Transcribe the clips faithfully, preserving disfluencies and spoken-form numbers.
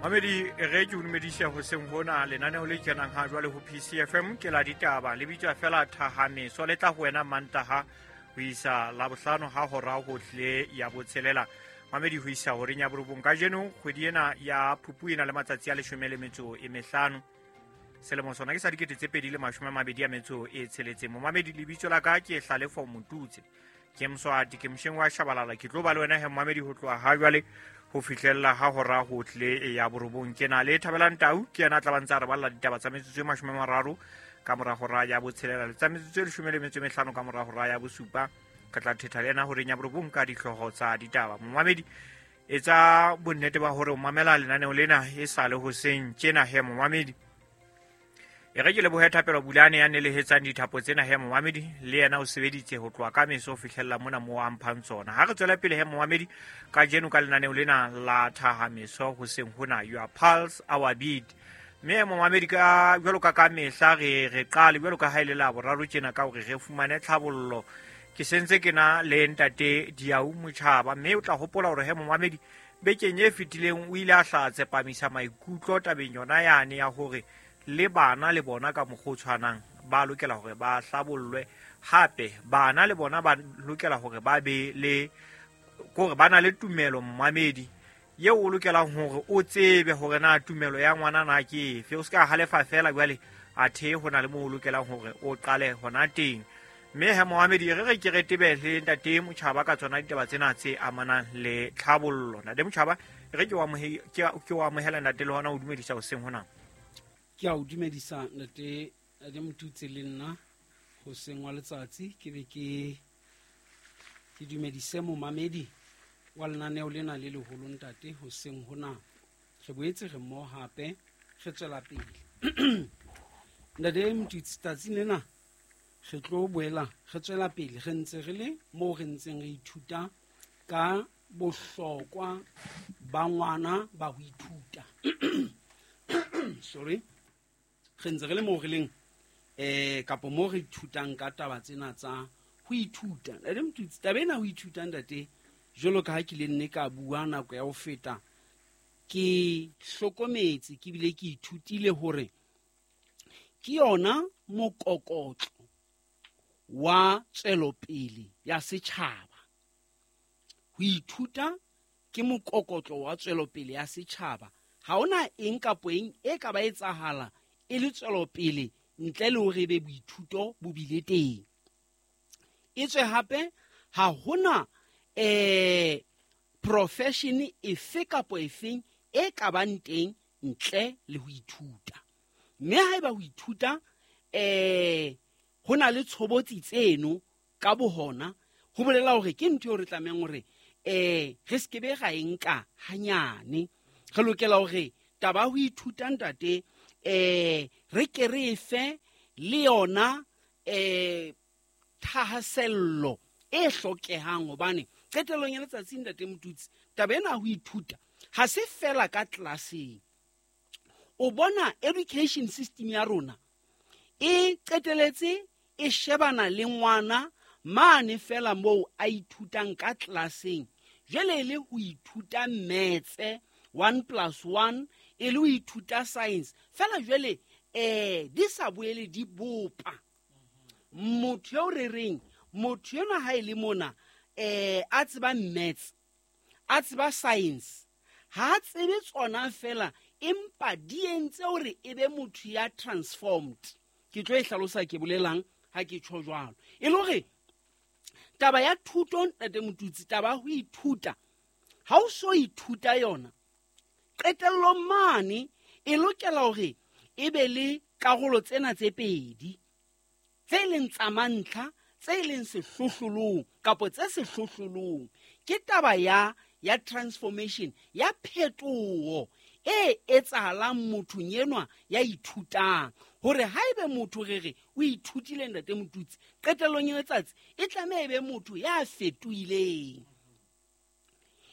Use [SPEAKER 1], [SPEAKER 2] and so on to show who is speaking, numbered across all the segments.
[SPEAKER 1] Mamedi, re ke o dumedise hoseng hona. Lenaneo le kenang ha jwale ho P C F M ke la ditaba, le bitswa fela Thahameso. Le tla ho wena Mantaha ho isa Labohlano ha hora ho tlile ya botshelela, mamedi, ho isa horeng ya borobong. Kajeno kgwedi ena ya Phupu e na le matsatsi a leshome le metso e mehlano, selemo sona ke sa dikete tse pedi le mashome a mabedi a metso e tsheletseng. Momamedi, lebitso la ka ke Hlalefo Motutse, ke Mswati, ke mosheng wa Shabalala. Ke tlo ba le wena he, momamedi, ho tloha ha jwale ho fihlella ha hora ho tlile ya borobong. Ke na le Thabelang Tau, ke yena a tla ba ntse a re balla ditaba tsa metsotso e mashome a mararo ka mora hora ya botshelela le tsa metsotso e leshome le metso e mehlano ka mora hora ya bosupa. Re tla thetha le yena horeng ya borobong ka dihlooho tsa ditaba. Momamedi, etsa bonnete ba hore o mamela lenaneo lena e sa le hoseng tjena he. Momamedi, e re ke lebohe Thapelo Bulane ya nelehetsang dithapo tsena he. Momamedi, le yena o sebeditse ho tloha ka meso ho fihlella mona mo a mphang tsona. Ha re tswela pele he, momamedi, kajeno ka lenaneo lena la Thahameso hoseng hona, your pulse, our beat. Mme momamedi, ka jwalo ka ka mehla re re qale jwalo ka ha e le la boraro tjena ka hore re fumane tlhabollo. Ke sentse ke na le ntate Diau Motjhaba, mme o tla hopola hore he, momamedi, bekeng e fetileng o ile a hla tsepamisa maikutlo tabeng yona yane ya hore le bana le bona ka mokgwa o tshwanang ba lokela hore ba hlabollwe. Hape bana le bona ba lokela hore ba be le kore ba na le tumelo. Mmamedi eo o lokelang hore o tsebe hore na tumelo ya ngwana na ke efe, o se ka halefa fela jwale, athe ho na le moo o lokelang hore o qale hona teng. Mme he, moamedi, re re ke re tebele ntate Motjhaba ka tsona ditaba tsena tse amanang le tlhabollo. Ntate Motjhaba, re ke o amohe- ke ke o amohela, ntate, le hona o dumedisa hoseng hona.
[SPEAKER 2] Ke a o dumedisa, ntate ntate Motutse, le nna hoseng wa letsatsi ke be ke ke dumedise momamedi wa lenaneo lena le leholo. Ntate, hoseng hona re boetse re mmoho hape, re tswela pele. Ntate Motutse, tsatsing lena re tlo boela re tswela pele re ntse re le moo re ntseng re ithuta ka bohlokwa ba ngwana ba ho ithuta. Sorry, re ntse re le moo re leng eh kapo moo re ithutang ka taba tsena tsa ho ithuta. Ntate Motutsi, taba ena ho ithuta, ntate, jwalo ka ha ke le nne ka bua nako ya ho feta, ke hlokometse ke bile ke ithutile hore ke yona mokokotlo wa tswelopele ya setjhaba. Ho ithuta ke mokokotlo wa tswelopele ya setjhaba. Ha hona eng kapo eng e ka ba etsahala e le tswelopele ntle le hore ebe boithuto bo bile teng. Etswe hape ha hona eh profession efe kapo efeng e ka bang teng ntle le ho ithuta. Mme haeba ho ithuta eh ho na le tshobotsi tseno ka bohona, ho bolela hore ke ntho eo re tlamehang hore eh re se ke be ra e nka hanyane. Re lokela hore taba ya ho ithuta, ntate, eh re ke re e fe le yona eh thahasello e hlokehang, hobane qetellong ya letsatsi, ntate Motutsi, taba ena ya ho ithuta ha se fela ka tlelaseng. O bona education system ya rona e qeteletse e shebana le ngwana mane fela moo a ithutang ka tlelaseng, jwale e le ho ithuta maths, one plus one, e le ho ithuta science fela. Jwale eh di sa boele di bopa motho eo re reng motho enwa ha e le mona eh a tseba maths, a tseba science, ha a tsebe tsona fela, empa di entse hore e be motho ya transformed. Ke tlo e hlalosa ke bolelang ha ke tjho jwalo. E le hore taba ya thuto, ntate Motutsi, taba ya ho ithuta, ha o so ithuta yona, qetellong mane e lokela hore e be le karolo tsena tse pedi tse leng tsa mantlha, tse leng sehlohlolong kapo tse sehlohlolong, ke taba ya ya transformation, ya phetoho e etsahalang mothong enwa ya ithutang. Hore haebe motho re re o ithutile, ntate Motutsi, qetellong ya letsatsi e tlameha e be motho ya fetohileng,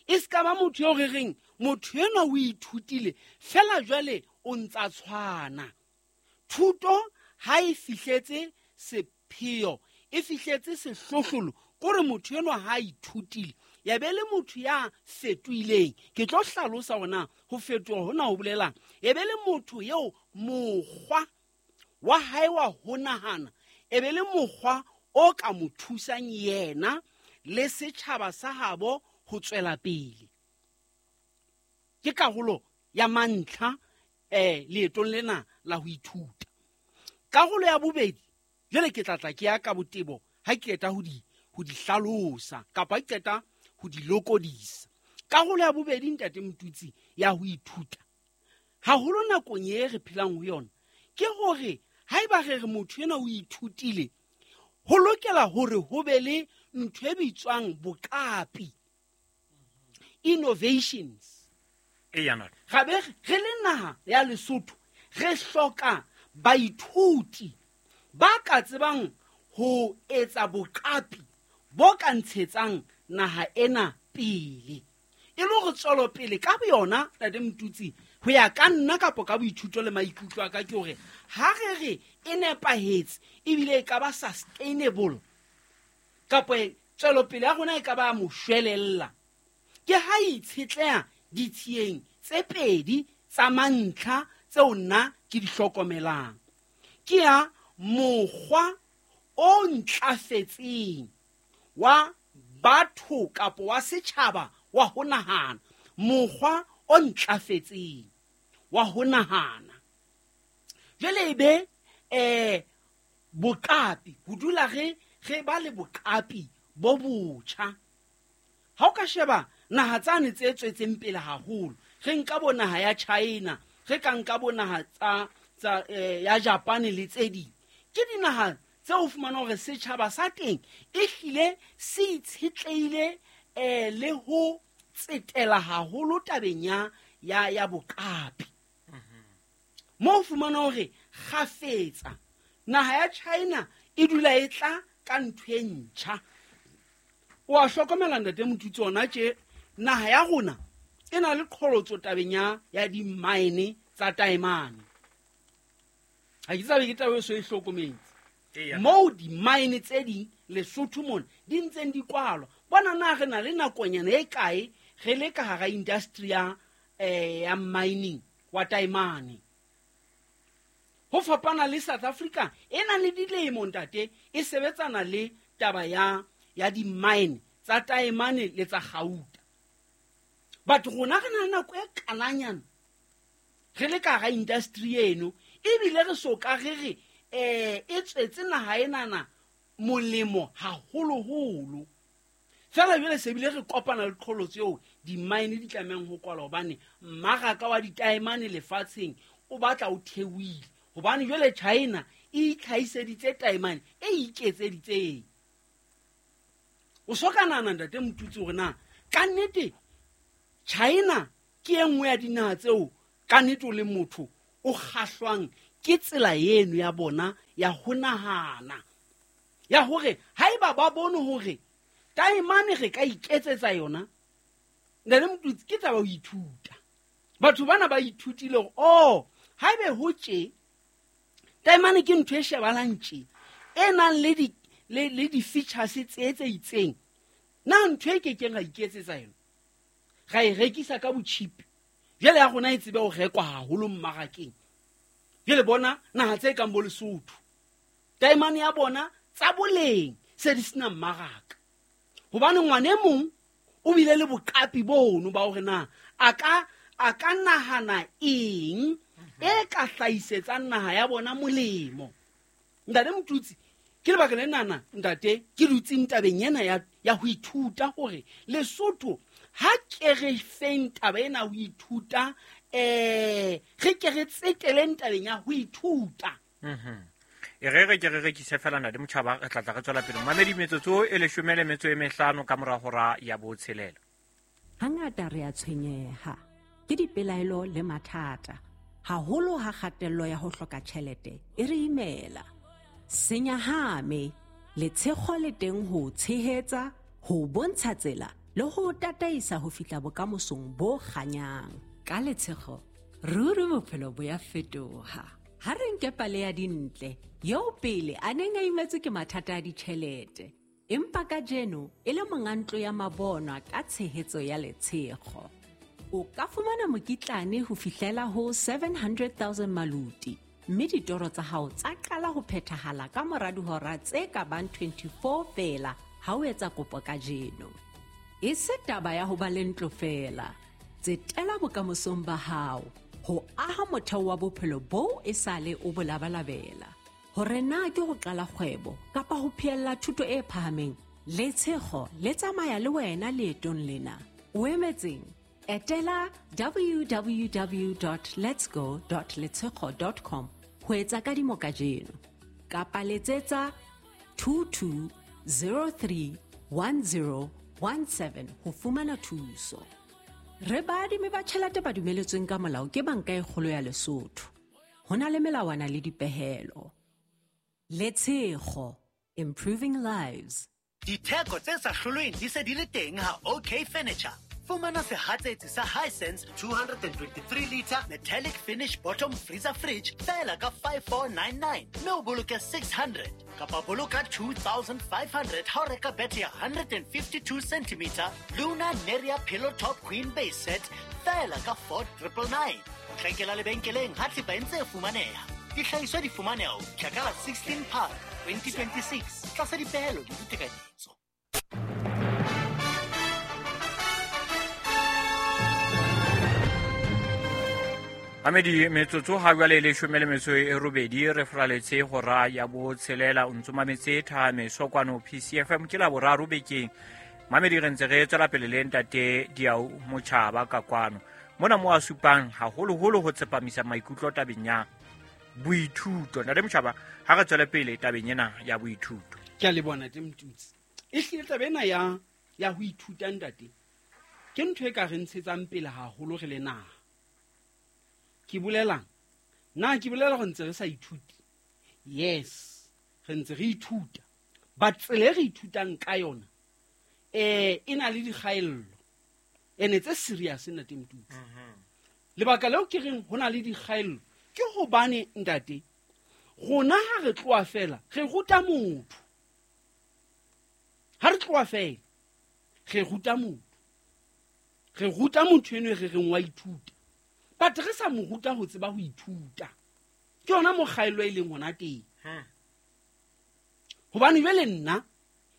[SPEAKER 2] e se ka ba motho eo re reng motho enwa o ithutile fela jwale o ntsa tshwana. Thuto ha e fihletse sepheo, e fihletse sehlohlolo, kore motho enwa ha a ithutile Ya be le motho ya fetohileng. Ke tlo hlalosa hore na ho fetoha hona ho bolelang. E be le motho eo mokgwa wa hae wa ho nahana, e be le mokgwa o ka mo thusang yena le setjhaba sa habo ho tswela pele. Ke karolo ya mantlha eh leetong lena la ho ithuta. Karolo ya bobedi, jwale ke tla tla ke ya ka botebo ha ke qeta ho di ho di hlalosa kapa ke qeta ho di lokodisa. Karolo ya bobedi, ntate Motutsi, ya ho ithuta haholo nakong e re phelang ho yona, ke hore haeba re re motho ena o ithutile, ho lokela hore ho be le ntho e bitswang boqapi, innovations. Ga be re le naha ya Lesotho re hloka baithuti ba ka tsebang ho etsa boqapi bo ka ntshetsang naha ena pele. E le hore tswelopele ka boyona, ntate Motutsi, ho ya ka nna kapo ka boithuto le maikutlo a ka, ke hore ha re re e nepahetse ebile e ka ba sustainable, kapo tswelopele ya rona e ka ba moshwelella, ke ha itshetleha ditshiyeng tse pedi tsa mantlha tseo nna ke di hlokomelang. Ke ya mokgwa o ntlafetseng wa batho kapo wa setjhaba wa ho nahana, mokgwa o ntlafetseng wa ho nahana. Jwale ebe eh boqapi, ho dula re re ba le boqapi bo botjha. Ha o ka sheba naha tsane tse tswetseng pele haholo, re nka bo naha ya China, re ka nka bo naha tsa tsa eh, ya Japan le tse ding, ke dinaha tse o fumana hore setjhaba sa teng e hlile se itshetleile eh le ho tsetela haholo tabeng ya ya ya boqapi. Mo fumana hore kgafetsa naha ya China e dula e tla ka ntho e ntjha. O a hlokomela ntate Motutsi, ona tje naha ya rona e na le qholotso tabeng ya ya di-mine tsa taemane. Ha ke tsabe ke taba e so e hlokometse. Moo di-mine tse ding Lesotho mona di ntseng di kwalwa. Bona na re na le nakonyana e kae re le ka hara industry ya eh ya mining wa taemane. Ho fapana le South Africa e nang le dilemo ntate e sebetsana le taba ya ya di-mine tsa taemane le tsa gauta. But rona re na le nako e kananyana re le ka hara industry eno, ebile re so ka re re eh e tswetse naha enana molemo haholoholo. Fela jwale se bile re kopana le qholotso eo di-mine di tlamehang ho kwalwa, hobane mmaraka wa ditaemane lefatsheng o batla o theohile, hobane jwale China e itlhahiseditse taemane e iketseditseng. O so ka nahana ntate Motutsi hore na ka nnete China ke e nngwe ya dinaha tseo ka nnete o le motho o kgahlwang ke tsela eno ya bona ya ho nahana, ya hore haeba ba bone hore taemane re ka iketsetsa yona, ntate Motutsi, ke taba ho ithuta. Batho bana ba ithutile hore oh haebe ho tje taemane ke ntho e shebalang tje e nang le di le le di-features tse tse itseng, na ntho e kekeng ra iketsetsa yona, ra e rekisa ka botjhipi, jwale ya rona e tsebe ho rekwa haholo mmarakeng. Jwale bona naha tse kang bo Lesotho, taemane ya bona tsa boleng se di sena mmaraka, hobane ngwana e mong o bile le boqapi bono ba hore na a ka a ka nahana eng e ka hlahisetsang naha ya bona molemo. Ntate Motutsi, ke lebaka le nana ntate ke dutseng tabeng ena ya ya ho ithuta hore Lesotho ha ke re feng taba ena ho ithuta, eh re ke re tseteleng tabeng ya ho ithuta.
[SPEAKER 1] Mhm. E re re ke re rekise fela ntate Motjhaba, re tla tla re tswela pele. Mamedi, metsotso e leshome le metso e mehlano ka mora hora ya botshelela.
[SPEAKER 3] Hangata re a tshwenyeha ke dipelaelo le mathata, haholo ha kgatello ya ho hloka tjhelete e re imela. Senyahame, letshego le teng ho tshehetsa, ho bontsha tsela le ho tataisa ho fihla bokamosong bo kganyang. Ka letshego, ruri bophelo bo ya fetoha. Ha re nke pale ya Dintle, eo pele a neng a imetswe ke mathata a ditjhelete. Empa kajeno e le monga ntlo ya mabonwa ka tshehetso ya Letshego. O ka fumana mokitlane ho fihlela ho seven hundred thousand maluti, mme ditoro tsa hao tsa qala ho phethahala ka mora dihora tse ka bang twenty-four feela ha o etsa kopo kajeno. E se taba ya ho ba le ntlo feela. Tsetela bokamosong ba hao ho aha motheo wa bophelo boo esale o bo labalabela. Hore na ke ho qala kgwebo kapa ho phehella thuto e phahameng, Letshego le tsamaya le wena leetong lena. O emetseng? Etela w w w dot letsgo dot letshego dot com ho etsa kadimo kajeno. Kapa letsetsa two two zero three one zero one seven ho fumana thuso. Re baadimi ba tjhelete ba dumeletsweng ka molao ke Banka e Kgolo ya Lesotho. Ho na le melawana le dipehelo. Letshego, improving lives.
[SPEAKER 4] Ditheko tse sa hlolweng di se di le teng ha OK Furniture. Fumana sehatsetsi sa Hisense two hundred twenty-three liter metallic finish bottom freezer fridge feela ka five four nine nine mme o boloke six hundred kapa boloka two thousand five hundred ha o reka bethe ya one hundred fifty-two centimeter Luna Neria pillow top queen base set feela ka four triple nine. Tlhekela lebenkeleng ha thepa e ntse e fumaneha. Dihlahiswa di fumaneha ho fihla ka la sixteen Park twenty twenty-six tlasa dipehelo le ditekanyetso.
[SPEAKER 1] Amedi metsotso ha jwale leshome le metso e robedi re fraletse hora ya botshelela o ntso mametse Thahameso kwano P C F M ke la boraro bekeng. Mamedi re ntse re tswela pele le ntate Diau Motjhaba ka kwano. Mona mo a supang haholoholo ho tsepamisa maikutlo tabeng ya boithuto. Ntate Motjhaba, ha re tswele pele tabeng ena ya boithuto.
[SPEAKER 2] Ke a le bona te Mtutsi. E hlile taba ena ya ya ho ithuta ntate ke ntho e ka re ntshetsang pele haholo re le naha. Ke bolelang? Na ke bolela hore ntse re sa ithuti? Yes, re ntse re ithuta. But tsela e re ithutang ka yona eh e na le dikgaello. Ene tse serious ntate Mtutsi. Lebaka leo ke reng ho na le dikgaello ke hobane ntate rona ha re tloha fela re ruta motho. Ha re tloha fela re ruta motho. Re ruta motho eno re reng wa ithuta. But re sa mo ruta ho tseba ho ithuta. Ke yona mokgaello e leng hona teng. Hobane jwale nna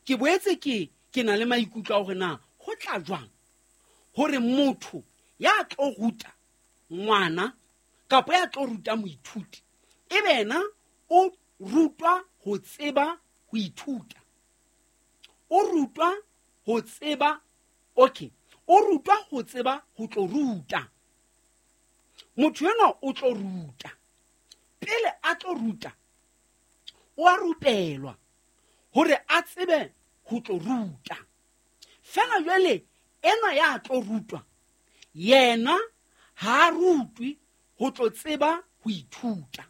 [SPEAKER 2] ke boetse ke ke na le maikutlo a hore na ho tla jwang hore motho ya tlo ruta ngwana kapa ya tlo ruta moithuti e be yena o rutwa ho tseba ho ithuta. O rutwa ho tseba, okay, o rutwa ho tseba ho tlo ruta. Motho enwa o tlo ruta. Pele a tlo ruta, o a rupelwa hore a tsebe ho tlo ruta. Fela jwale enwa ya tlo rutwa, yena ha rutwe ho tlo tseba ho ithuta.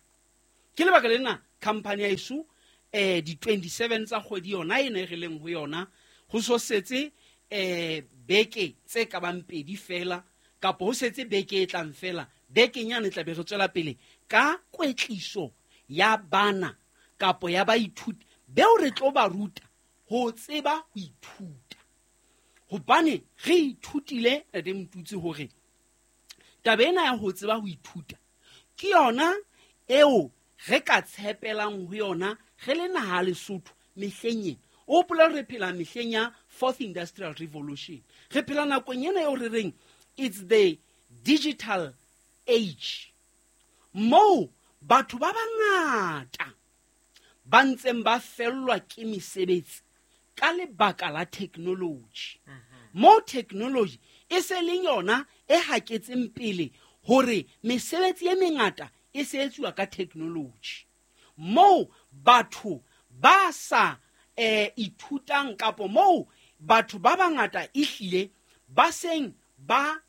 [SPEAKER 2] Ke lebaka lena company ya eso eh di twenty-seven tsa kgwedi yona ena e re leng ho yona ho so setse eh beke tse ka bang pedi fela kapa ho setse beke e tlang fela. Bekeng yane tla be re tswela pele ka kwetliso ya bana kapo ya baithuti beo re tlo ba ruta ho tseba ho ithuta. Hobane re ithutile Ntate Mtutsi hore taba ena ya ho tseba ho ithuta ke yona eo re ka tshepelang ho yona re le naha Lesotho mehleng ena. O hopola re phela mehleng ya fourth industrial revolution. Re phela nakong ena eo re reng it's the digital age. Moo batho ba bangata ba ntseng ba fellwa ke mesebetsi ka lebaka la technology. Moo technology e se leng yona e haketseng pele hore mesebetsi e mengata e se etsuwa ka technology. Moo batho ba sa eh ithutang kapo moo batho ba bangata ehlile ba seng ba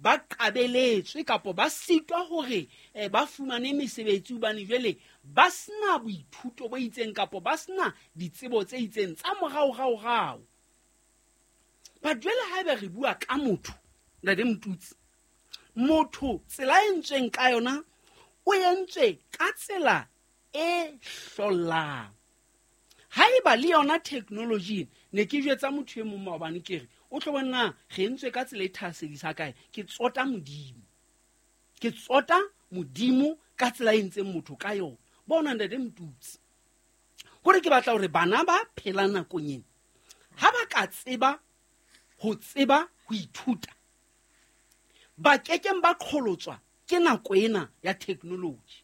[SPEAKER 2] ba qabeletswe kapo ba sitwa hore eh, ba fumane mesebetsi hobane jwale ba sena boithuto bo itseng kapo ba sena ditsebo tse itseng tsa moraorao-rao. But jwale haeba re bua ka motho, Ntate Mtutsi, motho tsela e entsweng ka yona o entswe ka tsela e hlollang. Haeba le yona technology ne ke jwetsa motho e mong maobane ke re o tlo bona re entswe ka tsela e thahasedisa kae, ke tsota Modimo. Ke tsota Modimo ka tsela e entseng motho ka yona. Bona ntate Motutsi, hore ke batla hore bana ba phelang nakong ena ha ba ka tseba ho tseba ho ithuta, ba kekeng ba qholotswa ke nako ena ya technology.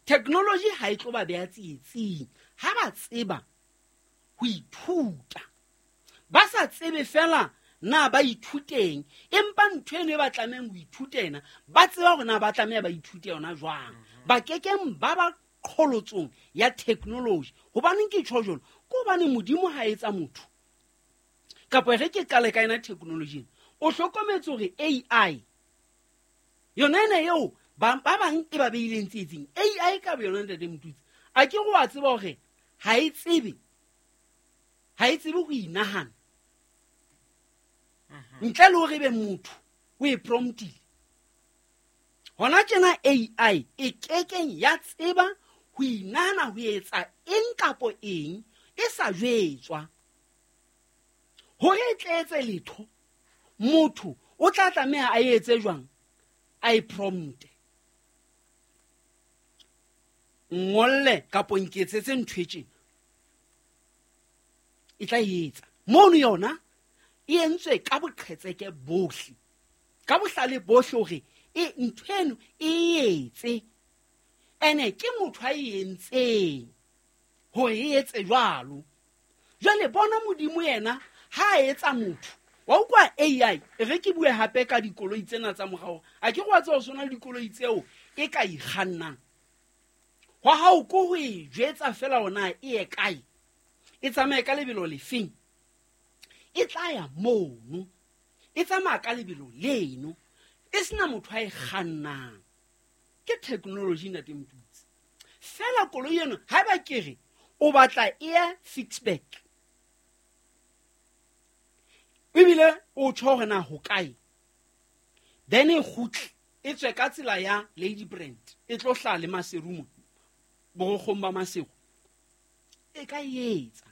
[SPEAKER 2] Technology ha e tlo ba beha tsietsing ha ba tseba ho ithuta. Ba sa tsebe fela na ba ithuteng, empa ntho eno e ba tlamehang ho ithuta ena, ba tseba hore na ba tlameha ba ithute yona jwang. Ba kekeng ba ba qholotsong ya technology. Hobaneng ke tjho jwalo? Ke hobane Modimo ha etsa motho, kapa re ke qale ka ena technology, o hlokometse hore A I yona ena eo ba ba bang e ba beileng tsietsing, A I ka bo yona ntate Motutsi, a ke go a tseba hore ha e tsebe, ha e tsebe ho inahana ntle le hore ebe motho o e promptile. Hona tjena A I e kekeng ya tseba ho inahana ho etsa eng kapo eng e sa jwetswa. Hore e tle etse letho, motho o tla tlameha a etse jwang? A e prompte. Ngolle kapo nketsetse ntho e tjena, e tla etsa. Mono yona e entswe ka boqhetseke bohle, ka bohlale bohle hore e ntho eno e etse. Ene ke motho a e entseng hore e etse jwalo. Jwale bona Modimo yena ha a etsa motho, wa utlwa A I, e re ke bue hape ka dikoloi tsena tsa morao. A ke go a tseba ho sona le dikoloi tseo e ka ikgannang. Hwa hao ko ho e jwetsa fela hore na e ye kae, e tsamaye ka lebelo lefeng, e tla ya mono, e tsamaya ka lebelo leno, e sena motho a e kgannang. Ke technology ntate Motutsi. Fela koloi eno haeba ke re o batla e ya Ficksburg, ebile o tjho hore na ho kae, then e kgutle e tswe ka tsela ya Lady Brand, e tlo hlaha le Maseru mo, borokgong ba Maseru, e ka etsa.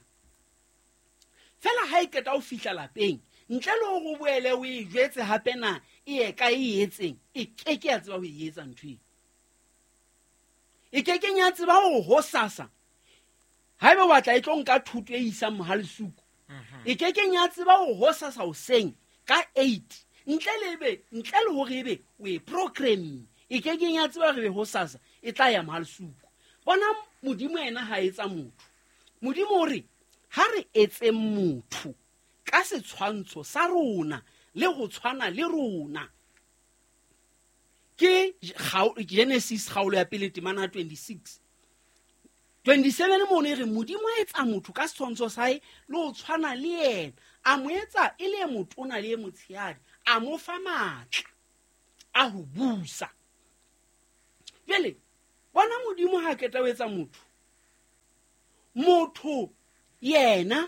[SPEAKER 2] Fela ha e qeta ho fihla lapeng, ntle le hore o boele o e jwetse hape na e ye kae e etseng, e keke ya tseba ho e etsa ntho eo. E kekeng ya tseba hore hosasa haeba o batla e tlo nka thuto e isang Mohalesuku, e kekeng ya tseba hore hosasa hoseng ka eight, ntle le ebe, ntle le hore ebe o e program, e kekeng ya tseba hore ebe hosasa e tla ya Mohalesuku. Bona Modimo yena ha etsa motho. Modimo o re ha re etseng motho ka setshwantsho sa rona le ho tshwana le rona. Ke Genesis kgaolo ya pele temana twenty-six. twenty-seven mono e re Modimo a etsa motho ka setshwantsho sa hae le ho tshwana le yena, a mo etsa e le e motona le e motshehadi, a mo fa matla a ho busa. Jwale bona Modimo ha qeta ho etsa motho, motho yena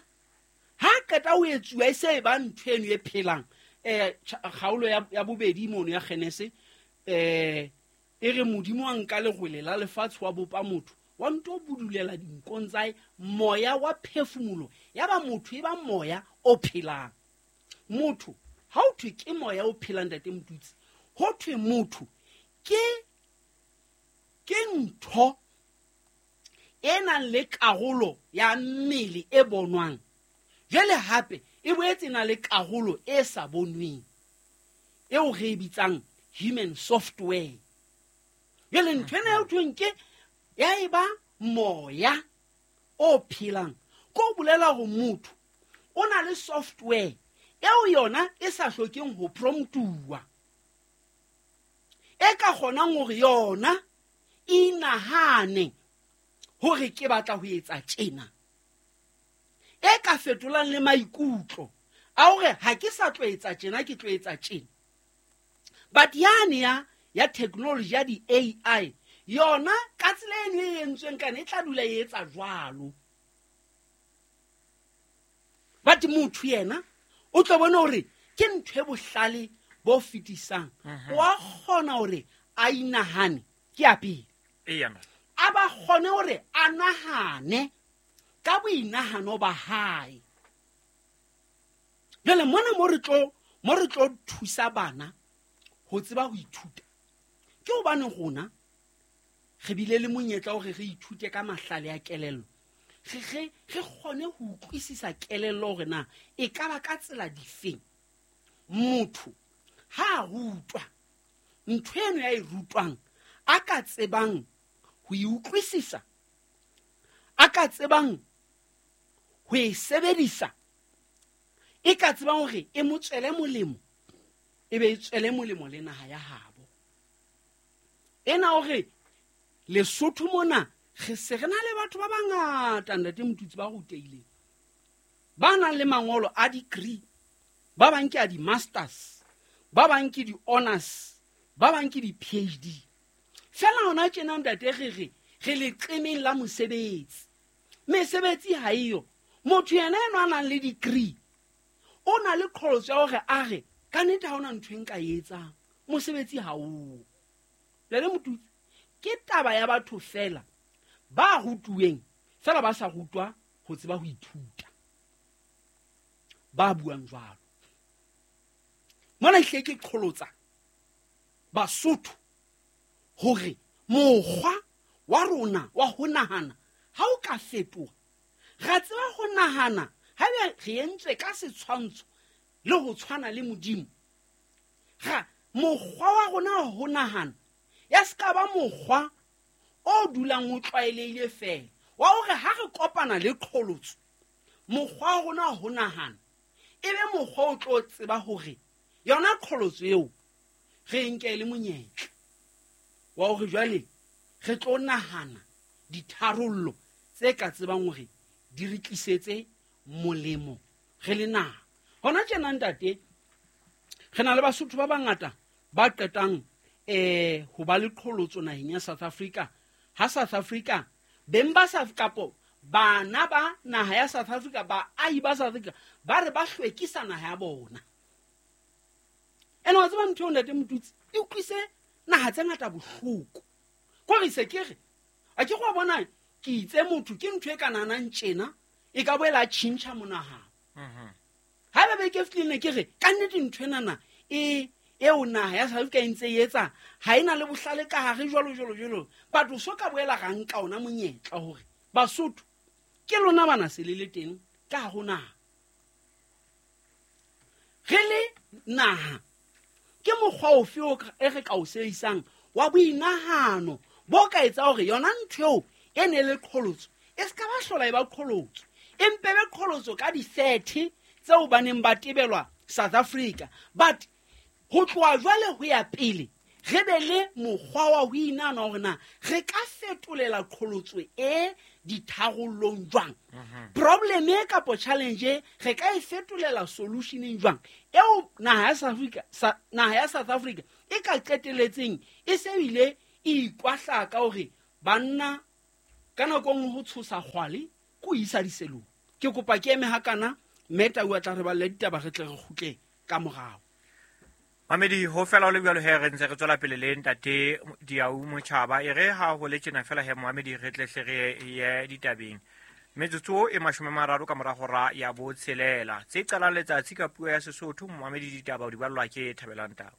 [SPEAKER 2] ha qeta ho etsuwa e se e ba ntho eno e phelang. Eh kgaolo ya, ya bobedi mono ya Genese, eh e re Modimo a nka lerole la lefatshe wa bopa motho, wa nto budulela dinkong tsa hae moya wa phefumolo, ya ba motho e ba moya o phelang. Motho ha o thwe ke moya o phelang ntate Motutsi, ho thwe motho ke ke ntho e nang le karolo ya mmele e bonwang, jwale hape e boetse e na le karolo e sa bonweng eo re e bitsang human software. Jwale ntho ena eo thweng ke ya eba moya o phelang, ko bolela hore motho o na le software eo yona e sa hlokeng ho promptuwa, e ka kgonang hore yona e inahane hore ke batla ho etsa tjena, e ka fetolang le maikutlo a hore ha ke sa tlo etsa tjena, ke tlo etsa tjena. But yane ya ya technology ya di-A I yona ka tsela eno e entsweng kana e tla dula e etsa jwalo. But motho yena o tlo bona hore ke ntho e bohlale bo fetisang, wa kgona hore a inahane ke ya pele,
[SPEAKER 1] Eya.
[SPEAKER 2] a ba kgone hore a nahane ka boinahano ba hae. Jwale mona mo re tlo mo re tlo thusa bana ho tseba ho ithuta. Ke hobane rona re bile le monyetla hore re ithute ka mahlale a kelello. Re re re kgone ho utlwisisa kelello hore na e ka ba ka tsela difeng motho ha a rutwa ntho eno ya e rutwang a ka tsebang ho e utlwisisa, a ka tsebang ho e sebedisa, e ka tsebang hore e mo tswele molemo, e be e tswele molemo le naha ya habo. Ena hore Lesotho mona re se re na le batho ba bangata ntate Motutsi ba rutehileng, ba nang le mangolo a degree, ba bang ke a di-masters, ba bang ke di-honors, ba bang ke di-P H D. Fela hona tjena ntate re re re leqemeng la mosebetsi. Mesebetsi ha eyo. Motho yena eno a nang le degree o na le qholotso ya hore a re ka nnete ha hona ntho e nka e etsang, mosebetsi ha o. Jwale Motutsi, ke taba ya batho fela ba rutuweng fela ba sa rutwa ho tseba ho ithuta, ba buang jwalo. Mona ehlile ke qholotsa Basotho hore mokgwa wa rona wa ho nahana ha o ka fetoha, ra tseba ho nahana haebe re entswe ka setshwantsho le ho tshwana le Modimo. Ra mokgwa wa rona wa ho nahana ya se ka ba mokgwa o dulang o tlwaelehile fela wa hore ha re kopana le qholotso, mokgwa wa rona wa ho nahana e be mokgwa o tlo tseba hore yona qholotso eo re nke le monyetla wa hore jwale re tlo nahana ditharollo tse ka tsebang hore di re tlisetse molemo re le naha. Hona tjena ntate re na le Basotho ba bangata ba qetang eh ho ba le qholotso naheng ya South Africa. Ha South Africa beng ba South kapo bana ba naha ya South Africa, baahi ba South Africa ba re ba hlwekisa naha ya bona. Ene wa tseba ntho eo ntate Motutsi e utlwise naha tse ngata bohloko. Kore se ke re a ke go bona ke itse motho ke ntho e ka nahanang tjena e ka boela a tjhentjha monahano. Haeba beke e fetileng ne ke re ka nnete ntho enana e eo naha ya South Africa e ntse e etsa ha ena le bohlale ka hare jwalo jwalo jwalo. Batho so ka boela ra nka ona monyetla hore Basotho ke lona bana se le le teng ka ho naha. Re le naha ke mokgwa ofe o e re ka o sebedisang wa boinahano bo ka etsa hore yona ntho eo e ne le qholotso e se ka ba hlola e ba qholotso, empe be qholotso ka di-thirty tseo ba neng ba tebelwa South Africa. But ho tloha jwale ho ya pele re be le mokgwa wa ho inahana hore na re ka fetolela qholotso e ditharollong jwang, problem e kapo challenge e re ka e fetolela solutioneng jwang eo naha ya South Africa, sa, naha ya South Africa e ka qeteletseng e se bile e ikwahlaka hore banna ka nako e nngwe ho tshosa kgwale ke ho isa diselong. Ke kopa ke eme hakana mme Tau a tla re balle ditaba re tle re kgutle ka morao.
[SPEAKER 1] Mamedi, ho fela ho le jwalo he re ntse re tswela pele le ntate Diau Motjhaba. E re ha ho le tjena fela he Mohamedi re tle hle re ye ditabeng. Metsotso e mashome a mararo ka mora hora ya botshelela. Tse qalang letsatsi ka puo ya Sesotho, Mohamedi ditaba o di ballwa ke Thabelang Tau.